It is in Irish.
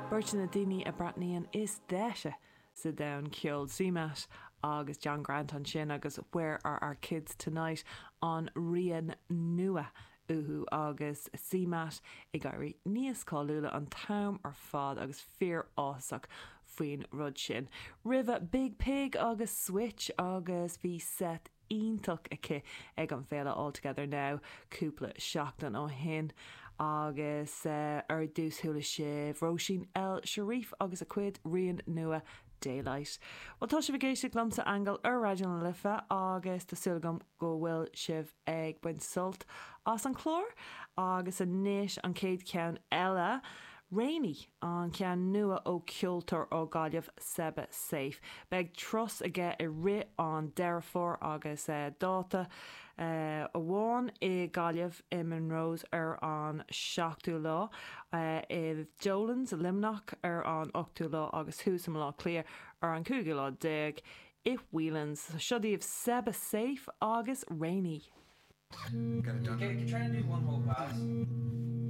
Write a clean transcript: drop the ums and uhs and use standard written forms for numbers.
Beirt de na daoine a breathnaíonn is deise sa domhan ceoil, CMAT agus John Grant ansin agus Where Are Our Kids Tonight, an rian nua uathu agus CMAT ag éirí níos cáiliúla an t-am ar fad agus fíor-áthasach faoin rud sin. Roimhe Biig Piig agus Switch agus bhí seit iontach aici ag an bhféile All Together Now cúpla seachtain ó shin agus ar dtús chuala sibh Róisín El Cherif agus a cuid rian nua Daylight. Bhuel tá sibh ag éisteacht liomsa Aingeal ar Raidió na Life agus tá súil agam go bhfuil sibh ag baint sult as an chlár agus anois an chéad cheann eile Rainy, an ceann nua ó cheoltóir ó Ghaillimh, Seba Safe. Beidh turas aige i rith an Deireadh Fómhair agus dáta amháin i Gaillimh i Monroe's ar an 7ú lá, i Dolan's, Luimneach ar an 8ú lá agus thuas i mBaile Átha Cliath ar an 15ú lá i Whelan's. Seo daoibh Seba Safe agus Rainy. Got it done. Can, can try and do one whole pass.